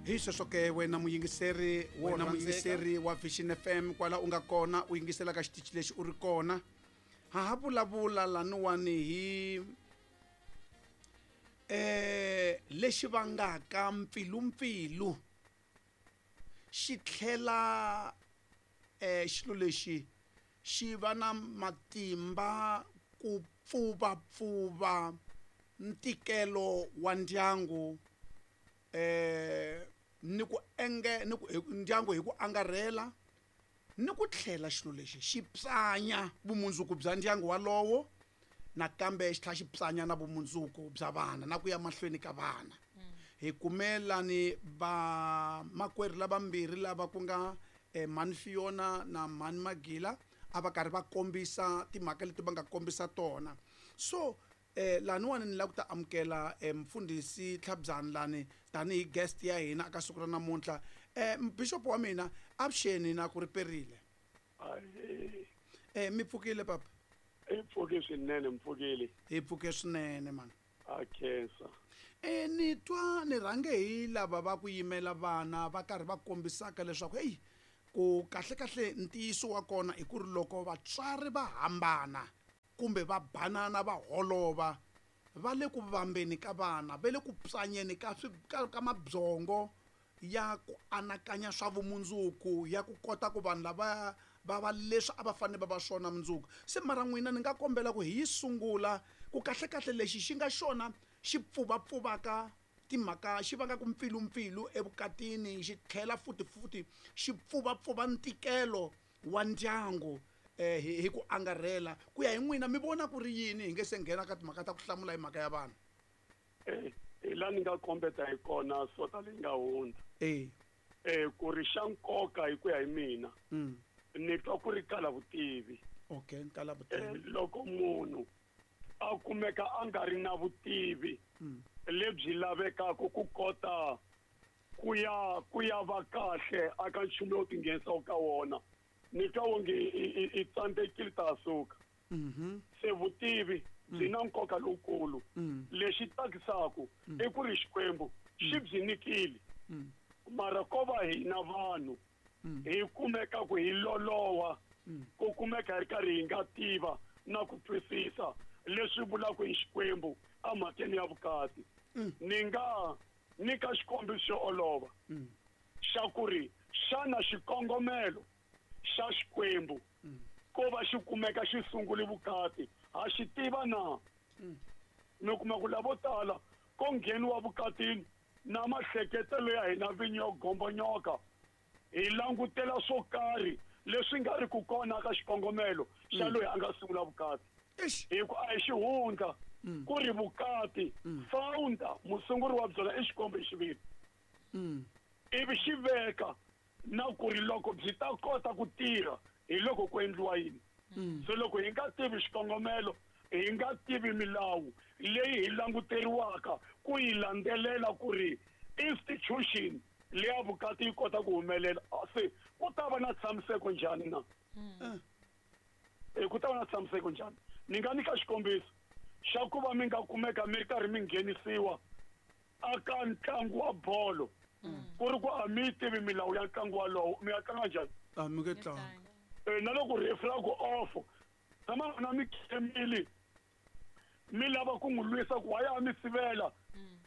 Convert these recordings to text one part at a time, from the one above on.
Hi sweswo ke wena muyingiseri Wo wena rhandzeka. muyingiseri wa Vision FM kwala u nga kona u yingisela ka xitichi lexi u ri kona ha ha vulavula laniwani hi lexi vangaka mpfilumpfilu xi tlhela xilo lexi xi va na matimba ku pfuvapfuva ntikelo wa ndyangu ni ku enge ni ku ndyangu hi ku angarhela ni ku tlhela xilo lexi xi pyanya vumundzuku bya ndyangu walowo nakambe xi tlhela xi pyanya na vumundzuku bya vana na ku ya mahlweni ka vana. Hi kumelani va makwerhu lavambirhi lava ku nga Mhani Fiona na Mhani Magila a va karhi va kombisa timhaka leti va nga kombisa tona. So laniwani ni lava ku ta amukela mfundhisi Tlhabyani lani tanihi guest ya hina aka siku ra namuntlha. Bishop wa mina avuxeni na ku ri perile. Mi pfukile papa? Hi pfuke swinene, mi pfukile. Hi pfuke swinene man. A khensa. Ni twa ni rhange hi lava va ku yimela vana va karhi va kombisaka leswaku heyi ku kahle kahle ntiyiso wa kona i ku ri loko vatswari va hambana kumbe va banana va holova va le ku vambeni ka vana, va le ku pyanyeni ka ka, ka mabyongo ya ku anakanya swa vumundzuku ya ku kota ku vanhu lava va va leswi a va fanele va va swona mundzuku. Se mara n'wina ni nga kombela ku hi yi sungula ku kahle kahle lexi xi nga xona xi pfuvapfuvaka timhaka xi vangaka mpfilumpfilu evukatini xi tlhela futhi futhi xi pfuvapfuva ntikelo wa ndyangu hi ku angarhela. Ku ya hi n'wina mi vona ku ri yini hi nge se nghena ka timhaka ta ku hlamula hi mhaka ya vanhu? Hi laha ni nga kombeta hi kona sota leyi nga hundza. Ku ri xa nkoka hi ku ya hi mina, ni twa ku ri kala vutivi. Okay, kala vutivi. Loko munhu a kumeka a nga ri na vutivi lebyi lavekaka ku kota ku ya va kahle aka nchumu lowu tinghenisaka ka wona, ni twa wonge i tsandzekile ta suka. Se vutivi byi na nkoka lowukulu. Lexi tsakisaka i ku ri Xikwembu xi byi nyikile, mara ko va hina vanhu hi kumeka ku hi loloha, ku kumeka hi ri karhi hi nga tiva na ku twisisa leswi vulaka hi Xikwembu emhakeni ya vukati. Ni nga nyika xikombiso xo olova xa ku ri xana xikongomelo xa Xikwembu ko va xi kumeka xi sungule vukati ha xi tiva na? Mi kuma ku lavo tala ko ngheniwa vukatini na mahleketelo ya hina vinyi yo gombonyoka, hi langutela swo karhi leswi nga ri ku kona ka xikongomelo xa loyi a nga sungula vukati. Hi ku a hi xihundla ku ri vukati founder musunguri wa byona i Xikwembu hi xiviri. Ivi xi veka na ku ri loko byi ta kota ku tirha hi loko ku endliwa yini. So loko hi nga tivi xikongomelo, hi nga tivi milawu leyi hi languteriwaka ku yi landzelela ku ri institution leya vukati yi kota ku humelela, se ku ta va na tshamiseko njhani na? Ku ta va na tshamiseko njhani? Ni nga nyika xikombiso xa ku va mi nga kumeka mi ri karhi mi nghenisiwa aka ntlangu wa bolo, ku ri ku a mi yi tivi milawu ya ntlangu walowo, mi ya tlanga njhani? A mi nge tlangi. Na loko referee a ku off, tshama na mi khemile mi lava ku n'wi lwisa ku why a mi sivela,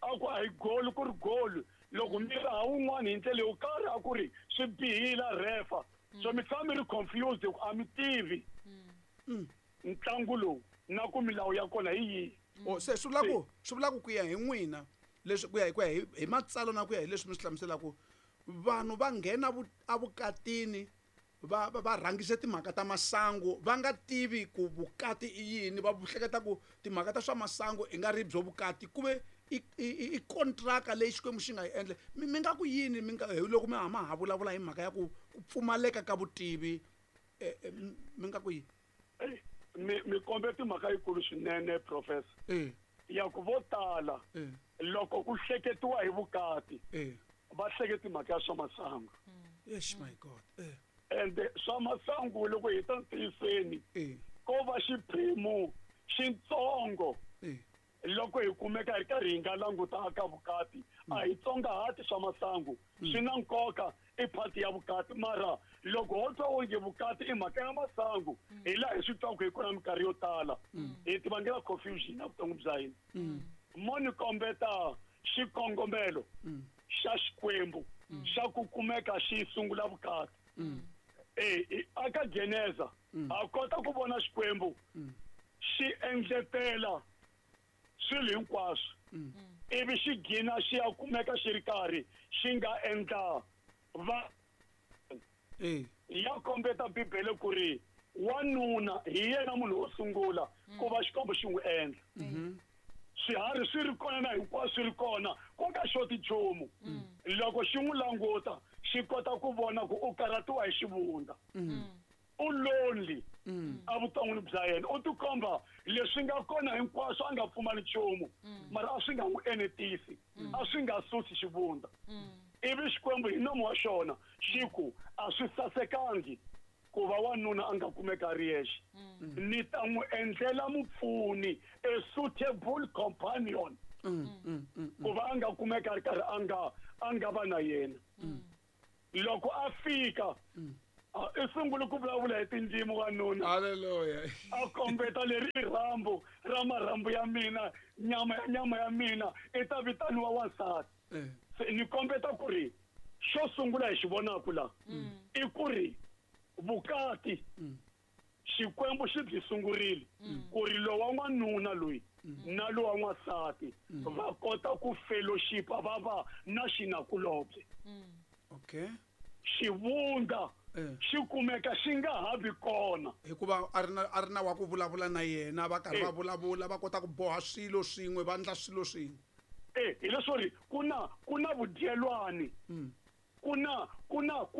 a ku a hi goal ku ri goal, loko mi raha wun'wana hi ndlela yo karhi a ku ri swi bihile refa. So mi tshama mi ri confused ku a mi tivi ntlangu lowu na ku milawu ya kona hi yihi. Se swi vula ku ku ya hi n'wina leswi ku ya hi ku ya hi matsalwa na ku ya hi leswi mi swi hlamuselaka, vanhu va nghena evukatini va va rhangise timhaka ta masangu va nga tivi ku vukati i yini, va hleketa ku timhaka ta swa masangu i nga ri byo vukati ku ve i kontraka leyi Xikwembu xi nga yi endla. Mi nga ku yini mi nga hi loko mi hama ha vulavula hi mhaka ya ku pfumaleka ka vutivi, mi nga ku yini? Mi kombe timhaka yikulu swinene professor. Ya ku vo tala loko ku hleketiwa hi vukati va hleketa mhaka ya swa masangu. Yes my God. And swa masangu loko hi ta ntiyiseni ko va xiphemu xitsongo. Loko hi kumeka hi ri karhi hi nga languta ka vukati, a hi tsongahati swa masangu, swi na nkoka, i part ya vukati. Mara loko ho twa onge vukati i mhaka ya masangu, hi laha hi swi twaka hi kona minkarhi yo tala, hi ti vangela confusion evuton'wini bya hina. Mo ni kombeta xikongomelo xa Xikwembu xa ku kumeka xi sungula vukati. Aka Geneza a kota ku vona Xikwembu xi endletela swilo hinkwaswo, ivi xi gina xi ya kumeka xi ri karhi xi nga endla va ya kombeta Bibele ku ri wanuna hi yena munhu wo sungula ku va Xikwembu xi n'wi endla. Swiharhi swi ri kona na hinkwaswo swi ri kona, ku nga xoti nchumu. Loko xi n'wi languta xi kota ku vona ku u karhatiwa hi xivundza, u lonely evuton'wini bya yena, u tikomba leswi nga kona hinkwaswo a nga pfumali nchumu, mara a swi nga n'wi enetisi, a swi nga susi xivundza. Ivi Xikwembu hi nomu wa xona xi ku a swi sasekangi ku va wanuna a nga kumeka a ri yexe, ni ta n'wi endlela mupfuni, a suitable companion, ku va a nga kumeka a ri karhi a nga va na yena. Loko a fika, i sungule ku vulavula hi tindzimi wanuna. Haleluya. A kombeta leri i rhambu ra marhambu ya mina, nyama ya nyama ya mina, i ta vitaniwa wansati. Se ni kombeta ku ri xo sungula hi xi vonaku la i ku ri vukati Xikwembu xi byi sungurile ku ri lowa n'wanuna loyi na lowa n'wansati va kota ku fellowshipa, va va na xinakulobye. Xivundza xi kumeka xi nga ha vi kona. Hikuva a ri na wa ku vulavula na yena, va karhi va vulavula, va kota ku boha swilo swin'we, va endla swilo swin'we. Hi leswo ri ku na vudyelwani, ku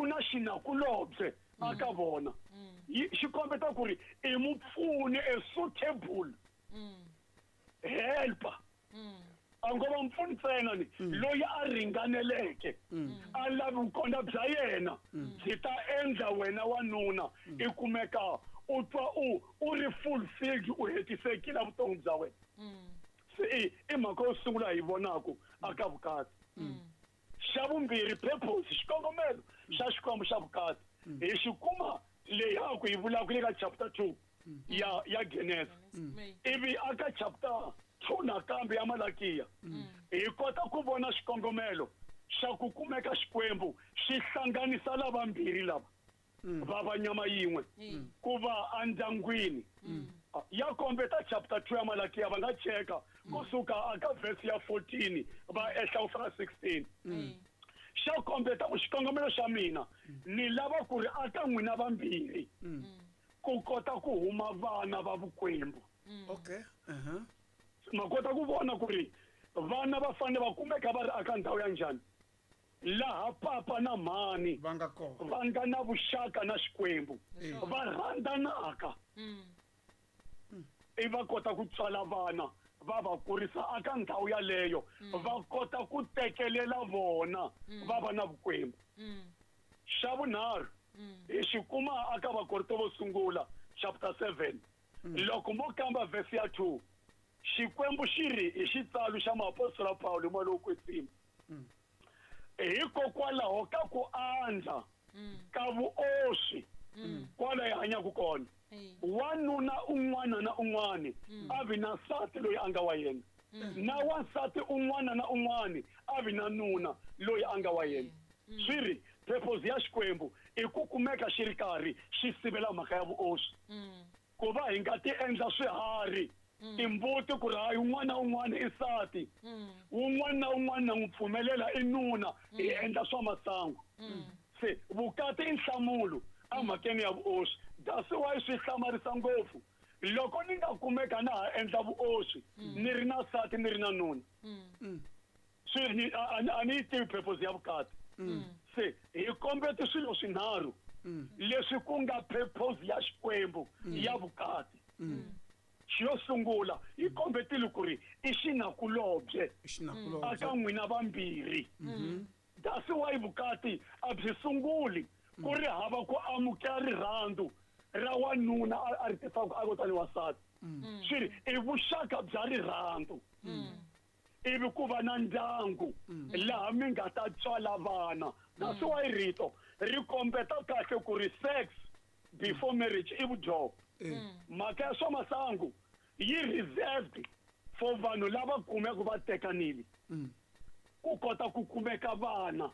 na xinakulobye aka vona. Xi kombeta ku ri i mupfuni, a suitable helper. A ngo va mpfuni ntsena, ni loyi a ringaneleke, a lavi vukona bya yena byi ta endla wena wanuna i kumeka u twa u ri fulfilled, u hetisekile vutomi bya wena. Se i mhaka yo sungula hi vonaku aka vukati. Xa vumbirhi, purpose, xikongomelo xa Xikwembu xa vukati hi xi kuma leyi ku yi vulaka le ka chapter 2 ya Genesis, ivi aka chapter 2 nakambe ya Malakiya hi kota ku vona xikongomelo xa ku kumeka Xikwembu xi hlanganisa lavambirhi lava va va nyama yin'we, ku va endyangwini. Ya kombeta chapter 2 ya Malakiya, va nga cheka kusuka aka verse ya 14 va ehla ku fika 16. Xa kombeta ku xikongomelo xa mina ni lava ku ri aka n'wina vambirhi ku kota ku huma vana va vukwembu. okay uh-huh. Ma kota ku vona ku ri vana va fanele va kumeka va ri aka ndhawu ya njhani, laha papa na mhani va nga kona, va nga na vuxaka na Xikwembu, va rhandzanaka, i va kota ku tswala vana, va va kurisa aka ndhawu yaleyo, va kota ku tekelela vona, va va na vukwembu. Xa vunharhu hi xi kuma aka Vakorinto vo sungula chapter 7. Loko mo kamba verse ya 2, Xikwembu xi ri hi xitsalo xa muapostola Paulo, moya lowo kwetsima, hikokwalaho ka ku andza ka vuoswi kwala hi hanyaka kona, wanuna un'wana na un'wana a vi na nsati loyi a nga wa yena, na wansati un'wana na un'wana a vi na nuna loyi a nga wa yena. Swi ri purpose ya Xikwembu i ku kumeka xi ri karhi xi sivela mhaka ya vuoswi, ku va hi nga ti endla swiharhi, timbuti, ku ri hayi, un'wana na un'wana i nsati, wun'wana na un'wana na n'wi pfumelela i nuna, hi endla swa masangu. Se vukati i nhlamulo emhakeni ya vuoswi. That's why swi hlamarisa ngopfu loko ni nga kumeka na ha endla vuoswi ni ri na nsati, ni ri na nuna. Swi ni a ni yi tivi purpose ya vukati. Se hi kombete swilo swinharhu leswi ku nga purpose ya Xikwembu ya vukati. Xo sungula hi kombetile ku ri i xinakulobye xinakulobye aka n'wina vambirhi. That's why vukati a byi sunguli ku ri hava ku amukela rirhandzu ra wanuna a ri tisaka a kotani wansati. Swi ri i vuxaka bya rirhandzu, ivi ku va na ndyangu laha mi nga ta tswala vana. That's why rito ri kombeta kahle ku ri sex before marriage i vudyoho. Mhaka ya swa masangu yi reserved for vanhu lava kumeka va tekanile, ku kota ku kumeka vana,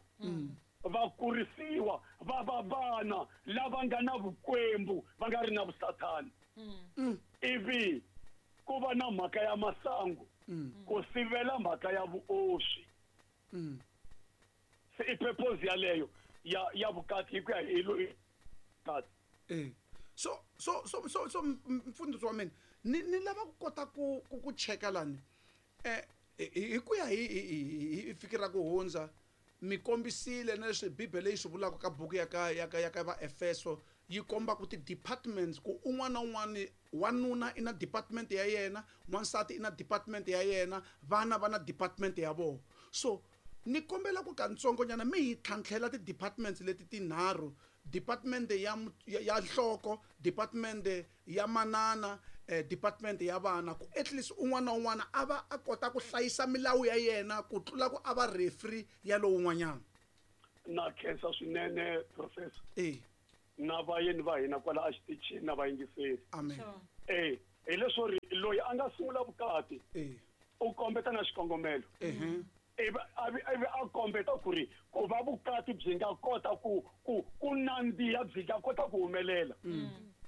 va kurisiwa va va vana lava nga na vukwembu, va nga ri na vusathani. Ivi ku va na mhaka ya masangu ku sivela mhaka ya vuoswi. Se i purpose yaleyo ya vukati hi ku ya hi vukati. So mfundhisi wa mina, ni lava ku kota ku cheka lani hi ku ya hi fikira ku hundza mi kombisile na leswi Bibele yi swi vulaka ka buku ya ka va Efeso, yi komba ku ti-departments, ku un'wana na un'wana wanuna i na department ya yena, wansati i na department ya yena, vana va na department ya vona. So ni kombela ku katsongonyana mi hi tlhantlhela ti-departments leti tinharhu, department ya nhloko, department ya manana, department ya vana, ku at least un'wana na un'wana a va a kota ku hlayisa milawu ya yena ku tlula ku a va referee ya lowun'wanyana. Na khensa swinene professor. Na vayeni va hina kwala exitichini na vayingiseri. Amen. Hi leswo ri loyi a nga sungula vukati u kombeta na xikongomelo. Ivi a kombeta ku ri ku va vukati byi nga kota ku nandziha, byi nga kota ku humelela.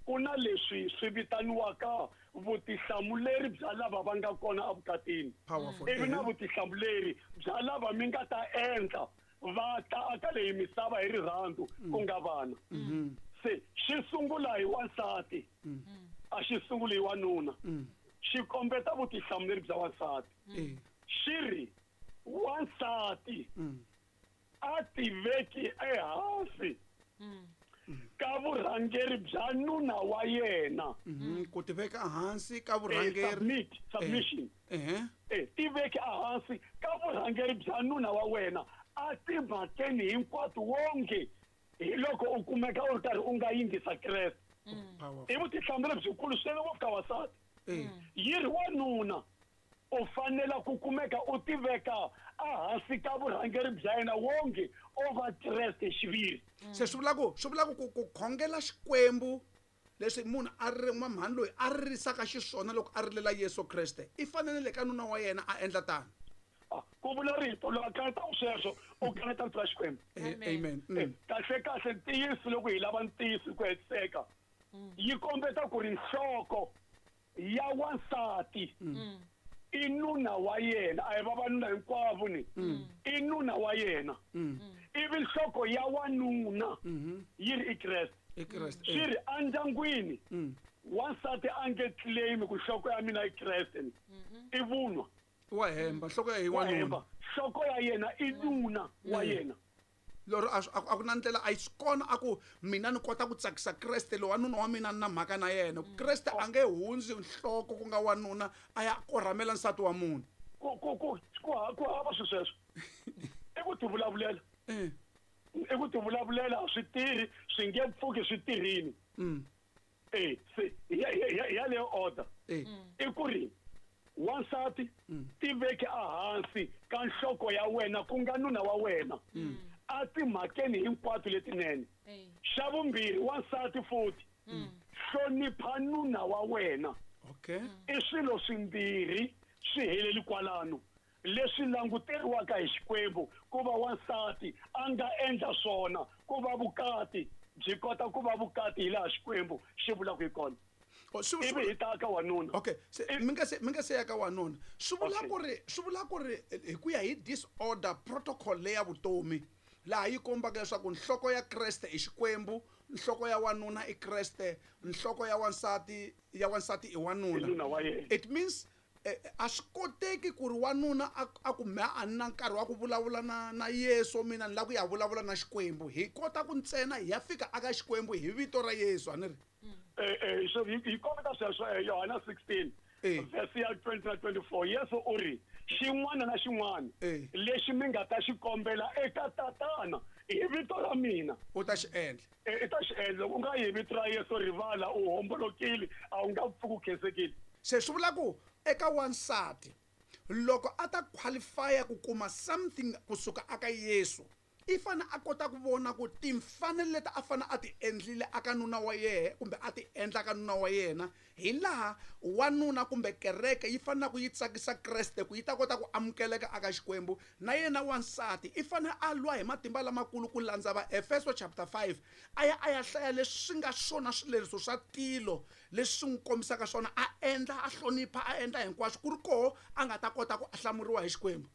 Ku na leswi swi vitaniwaka vutihlamuleri bya lava va nga kona evukatini. Ivi na vutihlamuleri bya lava mi nga ta endla va ta aka leyi misava hi rirhandzu ku nga vana. Se xi sungula hi wansati, a xi sunguli hi wanuna. Xi kombeta vutihlamuleri bya wansati. Xi ri wansati a tiveki ehansi ka vurhangeri bya nuna wa yena. Ku tiveka ehansi ka vurhangeri, submission. Tiveki ehansi ka vurhangeri bya nuna wa wena a timhakeni hinkwato, wonge hi loko u kumeka u ri karhi u nga yingisa Kreste. I vutihlamuleri byikulu swinene ngopfu ka wansati. Yi ri wanuna u fanela ku kumeka u tiveka ehansi ka vurhangeri bya yena wonge o va Kreste xiviri. Se swi vula ku khongela Xikwembu leswi munhu a ri mhani loyi a ririsaka xiswona loko a rilela Yesu Kreste, i fanele ka nuna wa yena a endla tano. Ku vula rito loko a kaneta sweswo u kaneta rito ra Xikwembu. Amen. Kahle kahle ntiyiso loko hi lava ntiyiso ku hetiseka yi kombeta ku ri nhloko ya wansati i nuna wa yena, a hi vavanuna hinkwavo ni i nuna wa yena. Ivi nhloko ya wanuna yi ri i Kreste. Swi ri endyangwini wansati a nge claim ku nhloko ya mina i Kreste ni i vunwa. Wa hemba, nhloko ya wanuna. Nhloko ya yena i nuna wa yena. Lero a ku na ndlela a yi swi kona a ku mina ni kota ku tsakisa Kreste loyi wanuna wa mina ni na mhaka na yena. Kreste a nge hundzi nhloko ku nga wanuna a ya korhamela nsati wa munhu. Ku hava swi sweswo. I ku tivulavulela. I ku tivulavulela a swi tirhi, swi nge pfuki swi tirhini. Se yaleyo order. I ku ri wansati tiveki ehansi ka nhloko ya wena ku nga nuna wa wena a timhakeni hinkwato letinene. Xa vumbirhi, wansati futhi hlonipha nuna wa wena. I swilo swimbirhi swi heleli kwalano leswi languteriwaka hi Xikwembu ku va wansati a nga endla swona ku va vukati byi kota ku va vukati hi laha Xikwembu xi vulaka hi kona. Ivi hi ta ka wanuna. Okay, mi nga se ya ka wanuna. Swi vula ku ri hi ku ya hi disorder protocol leya vutomi laha yi kombaka leswaku nhloko ya Kreste i Xikwembu, nhloko ya wanuna i Kreste, nhloko ya wansati i wanuna. It means a swi koteki ku ri wanuna a ku me a na nkarhi wa ku vulavula na Yesu, mina ni lava ku ya vulavula na Xikwembu. Hi kota ku ntsena hi ya fika aka Xikwembu hi vito ra Yesu, a ni ri? So hi kombeta sweswo Yohana 16 verse ya 20 na 24. Yesu u ri Xin'wana na xin'wana lexi mi nga ta xi kombela eka tatana hi vito ra mina, u ta xi endla. I ta xi endla. Loko u nga yi hi vito ra Yesu, rivala, u hombolokile, a wu nga pfuki u khensekile. Se swi vula ku eka wansati loko a ta qualify ku kuma something kusuka aka Yesu, i fane a kota ku vona ku timfanelo leti a fane a ti endlile aka nuna wa yena kumbe a ti endla ka nuna wa yena, hi laha wanuna kumbe kereke yi fanele ku yi tsakisa Kreste ku yi ta kota ku amukeleka aka Xikwembu. Na yena wansati i fane a lwa hi matimba lamakulu ku landza Vaefeso chapter 5, a ya a ya hlaya leswi nga swona swileriso swa tilo leswi swi n'wi kombisaka swona, a endla, a hlonipha, a endla hinkwaswo ku ri koho a nga ta kota ku hlamuriwa hi Xikwembu.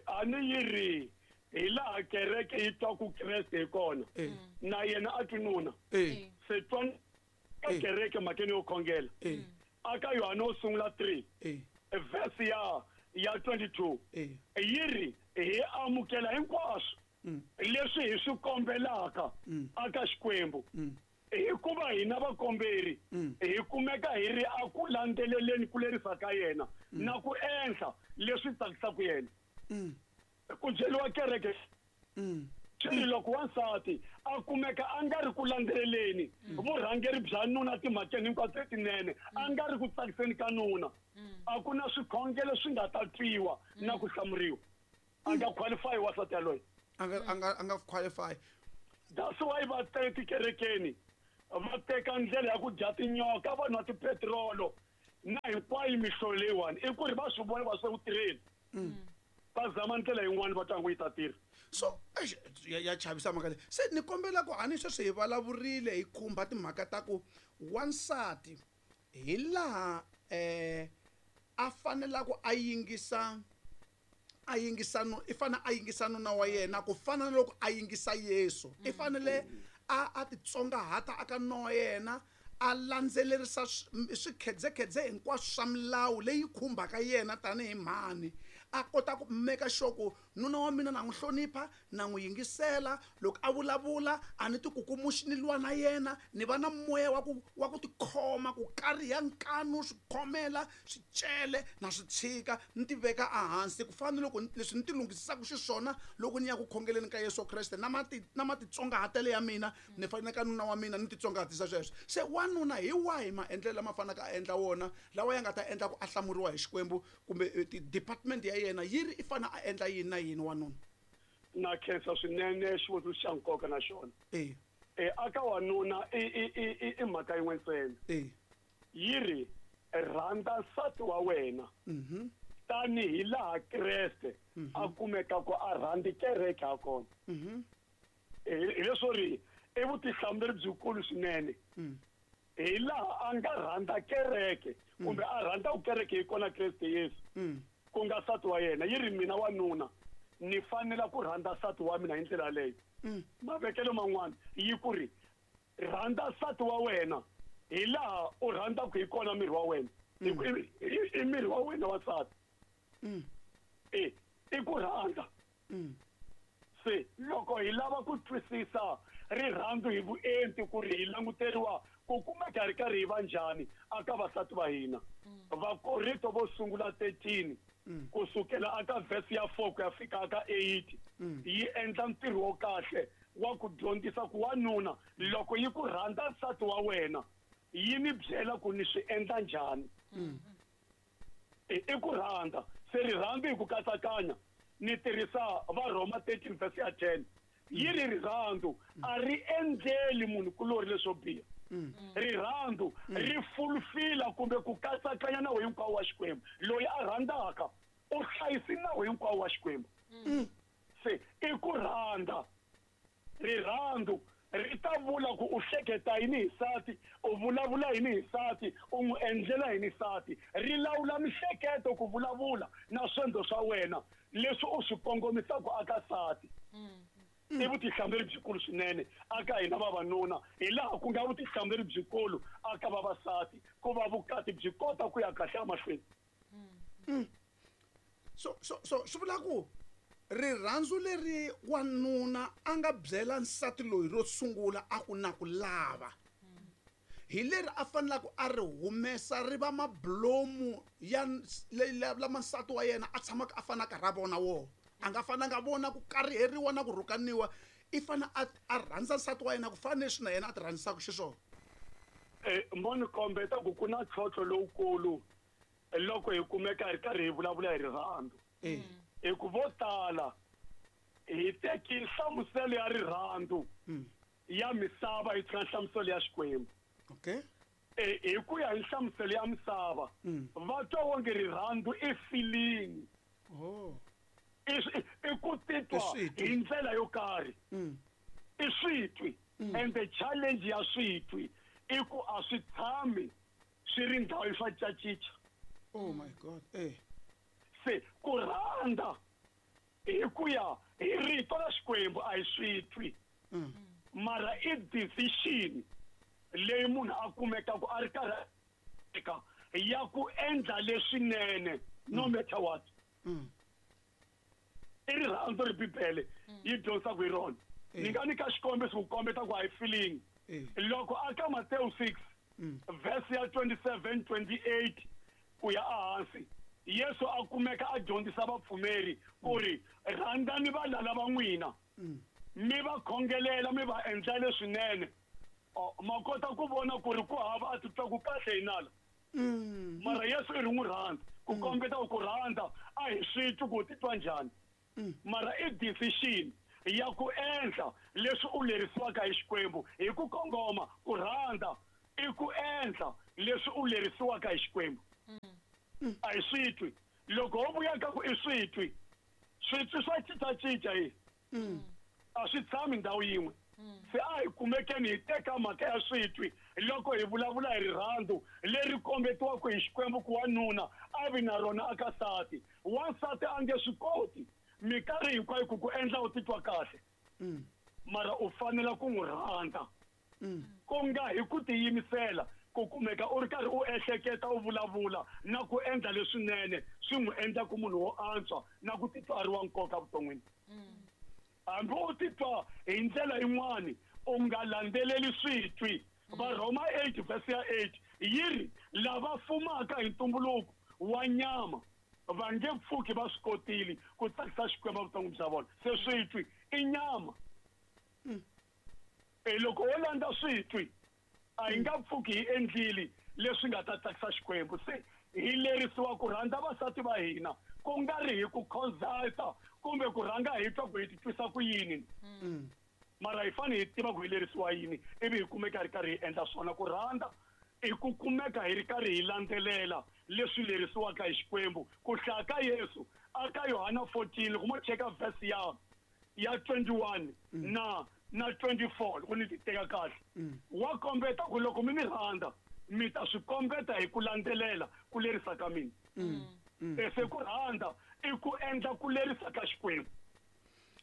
A ni yi ri hi laha kereke yi twaku Kreste hi kona, na yena a twi nuna. Se twa ka kereke mhakeni yo khongela. Aka Yohane wo sungula 3, verse ya 22, yi ri hi amukela hinkwaswo leswi hi swi kombelaka aka Xikwembu, hikuva hina vakomberi hi kumeka hi ri a ku landzeleleni ku lerisa ka yena na ku endla leswi tsakisaka yena. Ku byeriwa kereke swi ri loko wansati a kumeka a nga ri ku landzeleleni vurhangeri bya nuna timhakeni hinkwato letinene, a nga ri ku tsakiseni ka nuna, a ku na swikhongelo swi nga ta twiwa na ku hlamuriwa. A nga qualify wansati yaloye. A nga qualify. That's why va teka tikerekeni, va teka ndlela ya ku dya tinyoka, va nwa tipetirolo na hinkwayo mihlovo leyiwani, i ku ri va swi vona va swi ku tirheni. Va zama ndlela yin'wana va twa ngo yi ta tirha. So ya chavisa mhaka leyi. Se ni kombela ku hani sweswi hi vulavurile hi khumba timhaka ta ku wansati hi laha a fanela ku a yingisa, a yingisa nu, i fanele a yingisa nuna wa yena ku fana na loko a yingisa Yesu. I fanele a titsongahata aka nuna wa yena, a landzelerisa swikhedzekhedze hinkwaswo swa milawu leyi khumbaka yena tanihi mhani, a kota ku make sure ku nuna wa mina na n'wi hlonipha, na n'wi yingisela, loko a vulavula a ni tikukumuxi ni lwa na yena, ni va na moya wa ku tikhoma, ku kariha nkanu, swikhomela, swicele na swi tshika, ni ti veka ehansi ku fana na loko leswi ni ti lunghisisaka xiswona loko ni ya ku khongeleni ka Yesu Kreste, na na matitsongahatelo ya mina ni fanele ka nuna wa mina ni titsongahatisa sweswo. Se wanuna hi wahi maendlelo lama faneleke a endla wona lawa ya nga ta endla ku a hlamuriwa hi Xikwembu, kumbe department ya yena yi ri i fanele a endla yini na yini wanuna? Na khensa swinene xivutiso xa nkoka na xona. Aka wanuna i mhaka yin'we ntsena. Yi ri rhandza nsati wa wena tanihi laha Kreste a kumeka ku a rhandzi kereke ha kona. Hi leswo ri i vutihlamuleri byikulu swinene. Hi laha a nga rhandza kereke kumbe a rhandza ku kereke hi kona Kreste Yesu, ku nga nsati wa yena. Yi ri mina wanuna ni fanela ku rhandza nsati wa mina hi ndlela yaleyo. Mavekelo man'wana yi ku ri rhandza nsati wa wena hi laha u rhandzaka hi kona miri wa wena. I miri wa wena wa nsati. I ku rhandza. Se loko hi lava ku twisisa rirhandzu hi vuenti ku ri hi languteriwa ku kumeka ri karhi hi va njhani aka vasati va hina. Vakorinto vo sungula 13 kusukela aka verse ya 4 ku ya fika aka 8 yi endla ntirho wo kahle wa ku dyondzisa ku wanuna loko yi ku rhandza nsati wa wena yi ni byela ku ni swi endla njhani. I ku rhandza. Se rirhandzu hi ku katsakanya ni tirhisa va Roma 13 verse ya 10. Yi ri rirhandzu a ri endleli munhu kulori leswo biha. Rirhandzu ri fulfila kumbe ku katsakanya nawu hinkwawo wa Xikwembu. Loyi a rhandzaka u hlayisi nawu hinkwawo wa Xikwembu. Se i ku rhandza. Rirhandzu ri ta vula ku u hleketa yini hi nsati, u vulavula yini hi nsati, u n'wi endlela yini nsati. Ri lawula mihleketo ku vulavula na swendlo swa wena leswi u swi kongomisaka aka nsati. I vutihlamuleri byikulu swinene aka hina vavanuna, hi laha ku nga vutihlamuleri byikulu aka vavasati ku va vukati byi kota ku ya kahle emahlweni. So swi vula ku rirhandzu leri wanuna a nga byela nsati loyi ro sungula a ku na ku lava, Hi leri a fanelaka a ri humesa ri va mablomu ya lama nsati wa yena a tshamaka a fanaka ra vona wona. A nga fananga vona ku kariheriwa na ku rhukaniwa, i fane a rhandza nsati wa yena ku fana leswi na yena a ti rhandzisaka xiswona. Mo ni kombeta ku ku na ntlhontlho lowukulu loko hi kumeka hi ri karhi hi vulavula hi rirhandzu. Hi ku vo tala hi teki nhlamuselo ya rirhandzu ya misava hi tshika nhlamuselo ya Xikwembu. Okay. Hi ku ya hi nhlamuselo ya misava, va twa wonge rirhandzu i feeling. Oh. I ku titwa hi ndlela yo karhi. I switwi. And the challenge ya switwi i ku a swi tshami swi ri ndhawu swa cacica. Oh my God. Se ku rhandza hi ku ya hi rito ra Xikwembu a hi switwi. Mara i decision leyi munhu a kumekaka a ri karhi eka ya ku endla leswinene no matter what. I rirhandzu ri Bibele yi dyondzisaka hi rona. Ni nga nyika xikombiso ku kombeta ku a hi feeling. Loko a ka Matthew 6 verse ya 27 28 ku ya ehansi, Yesu a kumeka a dyondzisa vapfumeri ku ri rhandzani valala va n'wina, mi va khongelela, mi va endla leswinene. Ma kota ku vona ku ri ku hava a titwaku kahle hi nala. Mara Yesu i ri n'wi rhandza, ku kombeta ku rhandza a hi swi twi ku titwa njhani. Mara i decision ya ku endla leswi u lerisiwaka hi Xikwembu hi ku kongoma. Ku rhandza i ku endla leswi u lerisiwaka hi Xikwembu. A hi swi twi. Loko ho vuya ka ku i swi twi, switwi swa cincacinca hi. A swi tshami ndhawu yin'we. Se a hi kumekeni hi teka mhaka ya switwi loko hi vulavula hi rirhandzu leri kombetiwaka hi Xikwembu ku wanuna a vi na rona aka nsati. Wansati a nge swi koti minkarhi hinkwayo ku ku endla u titwa kahle. Mara u fanela ku n'wi rhandza. Ku nga hi ku tiyimisela ku kumeka u ri karhi u ehleketa, u vulavula na ku endla leswinene swi n'wi endla ku munhu wo antswa na ku titwa a ri wa nkoka evuton'wini. Hambi u titwa hi ndlela yin'wani, u nga landzeleli switwi. Varhoma 8 verse ya 8 yi ri lava fumaka hi ntumbuluko wa nyama va nge pfuki va swi kotile ku tsakisa Xikwembu evuton'wini bya vona. Se switwi i nyama. Loko wo landza switwi a hi nga pfuki hi endlile leswi nga ta tsakisa Xikwembu. Se hi lerisiwa ku rhandza vasati va hina, ku nga ri hi ku consulta kumbe ku rhanga hi twa ku hi titwisa ku yini. Mara hi fanele hi tiva ku hi lerisiwa yini ivi hi kumeka hi ri karhi hi endla swona. Ku rhandza i ku kumeka hi ri karhi hi landzelela leswi lerisiwaka hi Xikwembu. Ku hlaya ka Yesu aka Yohana 14, loko mo cheka verse ya 21 na 24, loko ni ti teka kahle, wa kombeta ku loko mi ni rhandza mi ta swi kombeta hi ku landzelela ku lerisa ka mina. Se ku rhandza i ku endla ku lerisa ka Xikwembu.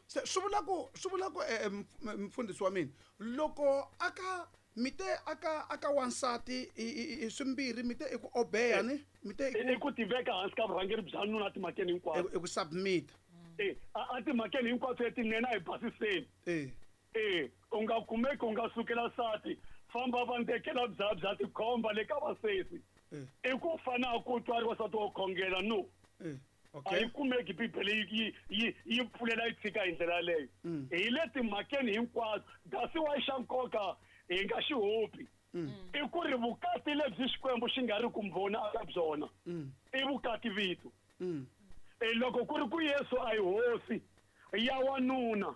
Se swi vula ku mfundhisi wa mina, loko aka mi te aka wansati i swimbirhi, mi te i ku obeya ni mi te i ku tiveka hansi ka vurhangeri bya nuna timhakeni hinkwato. I ku submit. A timhakeni hinkwato letinene a hi basiseni. U nga kumeki u nga sukela nsati, famba va ndekela bya tikhomba le ka vasesi. I ku fana ku twa ri wansati wo khongela, no. A yi kumeki Bibele yi pfulela yi tshika hi ndlela yaleyo. Hi le timhakeni hinkwato, kasi wa xa nkoka hi nga xi hopi. I ku ri vukati lebyi Xikwembu xi nga ri ku mbhoni aka byona, i vukati vito. Loko ku ri ku Yesu a hi hosi ya wanuna,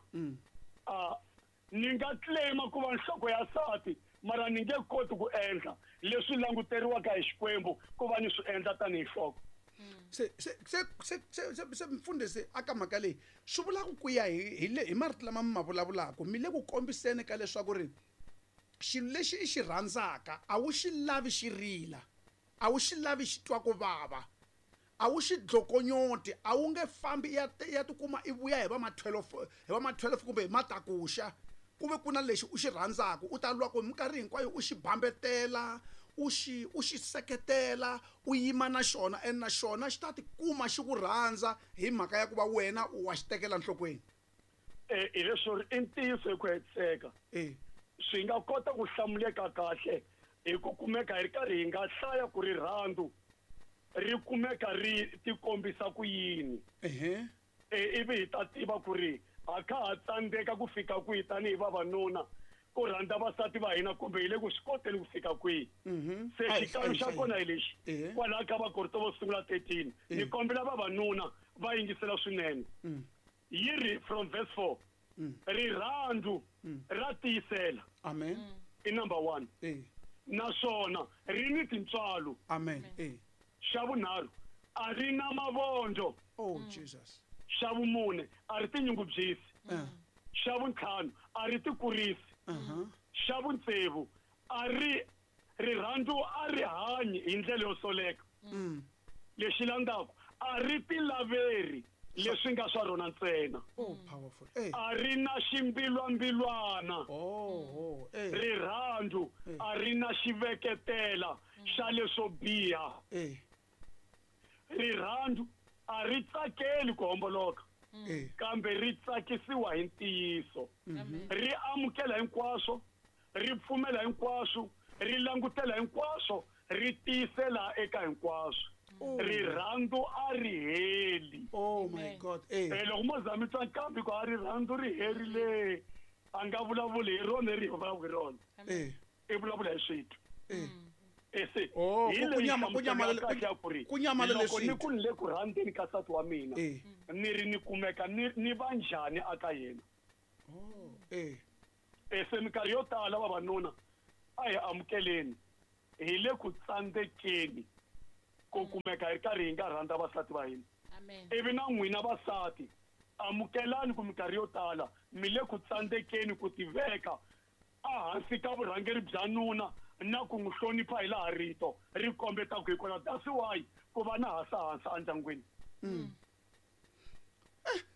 ni nga claima ku va nhloko ya nsati, mara ni nge koti ku endla leswi languteriwaka hi Xikwembu ku va ni swi endla tanihi nhloko. Se mfundhisi aka mhaka leyi swi vula ku ya hi marito lama mi ma vulavulaka, mi le ku kombiseni ka leswaku ri xilo lexi i xi rhandzaka a wu xi lavi xi rila, a wu xi lavi xi twa ku vava, a wu xi dlokonyoti, a wu nge fambi ya tikuma i vuya hi va ma 12, hi va ma 12 kumbe hi matakuxa, ku ve ku na lexi u xi rhandzaka, u ta lwa ku minkarhi hinkwayo u xi bambetela, u xi seketela, u yima na xona, and na xona xi ta tikuma xi ku rhandza hi mhaka ya ku va wena u wa xi tekela nhlokweni. Hi leswo ri i ntiyiso hi ku hetiseka. Swi nga kota ku hlamuleka kahle Hi ku kumeka hi ri karhi hi nga hlaya ku rirhandzu ri kumeka ri tikombisa ku yini. Ivi hi ta tiva ku ri ha kha ha tsandzeka ku fika kwihi tanihi vavanuna ku rhandza vasati va hina kumbe hi le ku swi koteni ku fika kwihi. Se xikalo xa kona hi lexi kwalaha ka Vakorinto vo sungula 13 ni kombela vavanuna va yingisela swinene. Yi ri from verse 4 rirhandzu ra tiyisela. Amen. I number 1. Naswona ri ni tintswalo. Amen. Xa vunharhu a ri na mavondzo. Oh Jesus. Xa vumune a ri tinyungubyisi. Xa vuntlhanu a ri tikurisi. Xa vuntsevu a ri rirhandzu a ri hanyi hi ndlela yo soleka. Lexi landzaku a ri tilaveri leswi nga swa rona ntsena. Oh powerful. A ri na ximbilwambilwana. Rirhandzu a ri na xiveketela xa leswo biha. Rirhandzu a ri tsakeli ku homboloka kambe ri tsakisiwa hi ntiyiso. Ri amukela hinkwaswo, ri pfumela hinkwaswo, ri langutela hinkwaswo, ri tiyisela eka hinkwaswo. Rirhandzu a ri heli. Oh my God. Loko mo za mi twa nkambi ku a rirhandzu ri herile, a nga vulavuli hi rona ri vulavula hi rona. I vulavula hi switwi. Ese hi ku loko ni ku le ku rhandzeni ka nsati wa mina ni ri ni kumeka ni va njhani aka yena. Ese minkarhi yo tala vavanuna a hi amukeleni hi le ku tsandzekeni ku kumeka hi ri karhi hi nga rhandza vasati va hina. Ivi na n'wina vasati amukelani ku minkarhi yo tala mi le ku tsandzekeni ku tiveka ehansi ka vurhangeri bya nuna na ku n'wi hlonipha hi laha rito ri kombetaka hi kona. That's why ku va na hasahansa endyangwini.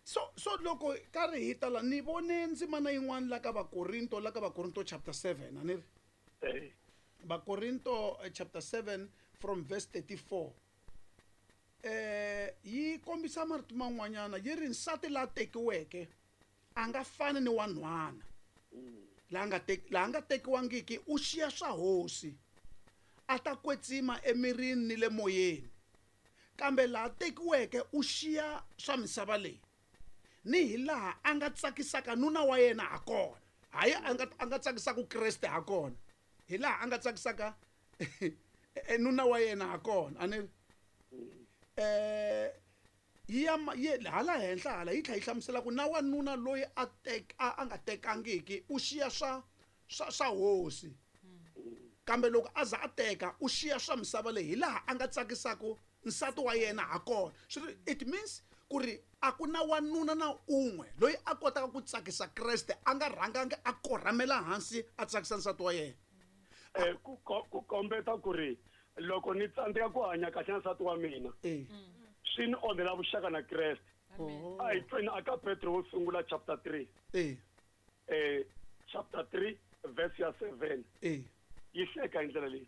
So loko karhi hi tala ni vone ndzimana yin'wana la ka Vakorinto, la ka Vakorinto chapter 7 a ni ri? Vakorinto chapter 7 from verse 34. Yi kombisa marito man'wanyana yi ri nsati la tekiweke a nga fani ni wanhwana. La nga tekiwangiki u xiya swa hosi a ta kwetsima emirini ni le moyeni, kambe laha tekiweke u xiya swa misava leyi ni hi laha a nga tsakisaka nuna wa yena ha kona. Hayi a nga tsakisaka Kreste ha kona, hi laha a nga tsakisaka nuna wa yena ha kona. A ni yi hala henhla hala yi tlhela yi hlamusela ku na wanuna loyi a nga tekangiki u xiya swa hosi, kambe loko a za a teka u xiya swa misava leyi hi laha a nga tsakisaka nsati wa yena ha kona. It means ku ri a ku na wanuna na un'we loyi a kotaka ku tsakisa Kreste a nga rhangangi a korhamela hansi a tsakisa nsati wa yena. Ku kombeta ku ri loko ni tsandzeka ku hanya kahle na nsati wa mina swi ni onhela vuxaka na Kreste. A hi tweni aka Petro wo sungula chapter 3. Chapter 3 verse ya 7. Yi hleka hi ndlela leyi.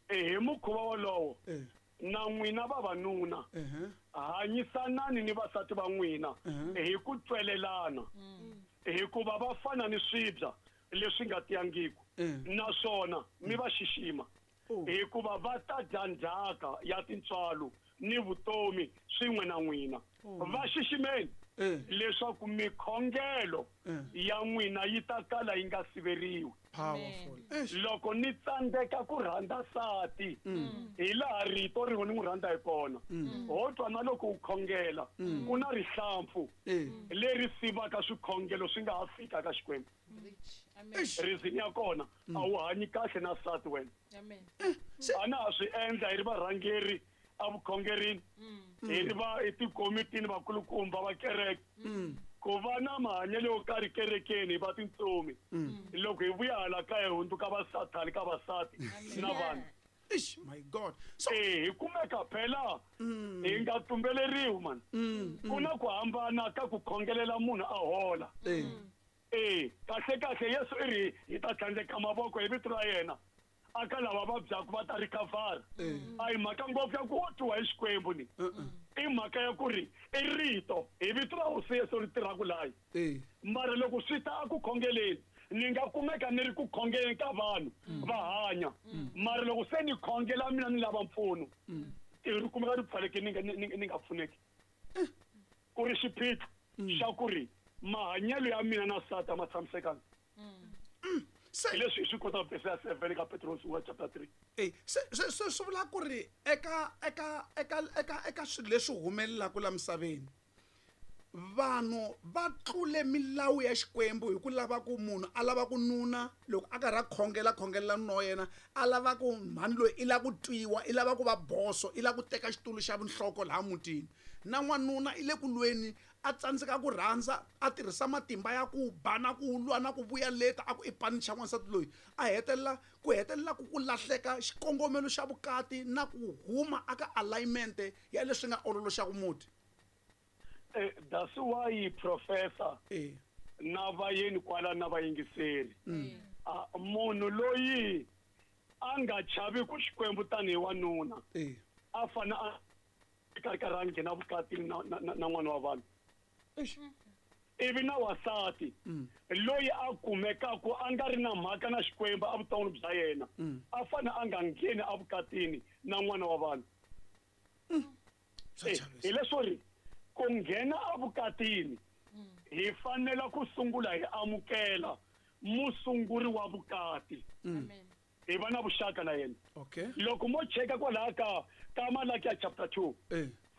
Hi mukhuva wolowo na n'wina vavanuna hanyisanani ni vasati va n'wina hi ku twelelana, hikuva va fana ni swibya leswi nga tiyangiki, naswona mi va xixima, hikuva va ta dya ndzhaka ya tintswalo ni vutomi swin'we na n'wina. Va xiximeni leswaku mikhongelo ya n'wina yi ta kala yi nga siveriwi. Powerful. Loko ni tsandzeka ku rhandza nsati hi laha rito rin'we ni n'wi rhandza hi kona, ho twa na loko u khongela ku na rihlampfu leri sivaka swikhongelo swi nga ha fika ka Xikwembu. Reason ya kona a wu hanyi kahle na nsati wena. A na ha swi endla hi ri varhangeri a vukhongerini, hi ri va etikomitini vakulukumba va kereke, ku va na mahanyelo yo karhi kerekeni hi va tintsumi, loko hi vuya hala kaya hi hundzuka vasathani ka vasati na vanhu. Ish, my God. So hi kumeka phela hi nga tumbeleriwi man. Ku na ku hambana ka ku khongelela munhu a hola. Kahle kahle Yesu i ri hi ta tlhandleka mavoko hi vito ra yena aka lava vabyaka va ta recover. A hi mhaka ngopfu ya ku twiwa hi Xikwembu ni. I mhaka ya ku ri i rito hi vito ra Hosi Yesu ri tirhaka layi. Mara loko swi ta a ku khongeleni Ni nga kumeka ni ri ku khongeleni ka vanhu va hanya, mara loko se ni khongela mina ni lava mpfuno, ri kumeka ri pfaleke ni nga pfuneki. Ku ri xiphiqo xa ku ri mahanyelo ya mina na nsati a ma tshamisekanga. Hi leswi hi swi kotaka verse ya 7 ka Petros wa chapter 3. E se swi vula ku ri eka eka eka eka eka swilo leswi humelelaka la misaveni, vanhu va tlule milawu ya Xikwembu hi ku lava ku munhu a lava ku nuna loko a karhi a khongela khongelela nuna wa yena, a lava ku mhani loyi i lava ku twiwa, i lava ku va boso, i lava ku teka xitulu xa vunhloko laha mutini, na n'wanuna i le ku lweni, a tsandzeka ku rhandza, a tirhisa matimba ya ku ba na ku lwa na ku vuya leta a ku i panicha n'wansati loyi, a hetelela ku hetelela ku ku lahleka xikongomelo xa vukati na ku huma aka alignment ya leswi nga ololoxaka muti. That's why professor na vayeni kwala na vayingiseri, munhu loyi a nga chavi ku Xikwembu tanihi wanuna, a fana a karhi karhi a nghena vukatini na n'wana wa vanhu, ivi na wasati loyi a kumekaku a nga ri na mhaka na Xikwembu evuton'wini bya yena, a fane a nga ngheni evukatini na n'wana wa vanhu. Hi leswo ri ku nghena evukatini hi fanela ku sungula hi amukela musunguri wa vukati, hi va na vuxaka na yena. Loko mo cheka kwalaha ka Malaki ya chapter 2,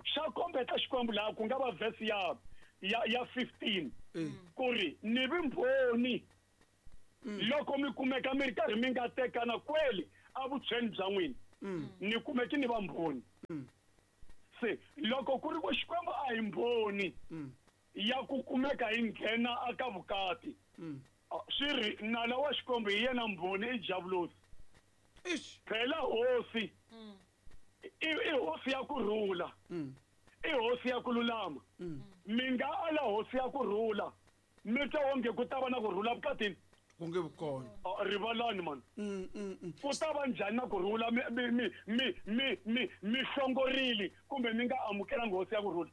xa kombeta Xikwembu laha ku nga va verse ya 15, ku ri ni vimbhoni loko mi kumeka mi ri karhi mi nga tekana kweli evutshweni bya n'wina, ni kumeki ni va mbhoni. Se loko ku ri ku Xikwembu a hi mbhoni ya ku kumeka hi nghena aka vukati, swi ri nala wa Xikwembu hi yena mbhoni i Diabolosi. Phela hosi i hosi ya ku rhula, i hosi ya ku lulama. Mi nga ala hosi ya ku rhula, mi twa onge ku ta va na ku rhula vukatini? Ku nge vi kona. Rivalani man. Ku ta va njhani na ku rhula mi hlongorile kumbe mi nga amukelanga hosi ya ku rhula?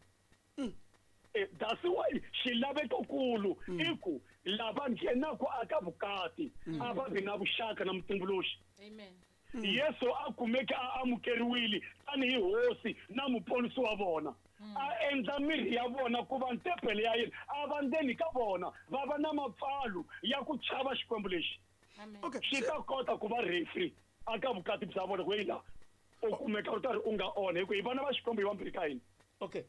That's why xilavekokulu i ku lava nghenaka aka vukati a va vi na vuxaka na mutumbuluxi. Amen. Yesu a kumeke a amukeriwile tanihi hosi na muponisi wa vona, a endla mirhi ya vona ku va ntempele ya yena, a va ndzeni ka vona, va va na mapfalo ya ku chava Xikwembu lexi. Swi ta kota ku va referee aka vukati bya vona ku la u kumeka u karhi u nga onha, hi ku hi vana va Xikwembu hi vambirhi ka hina. Okay.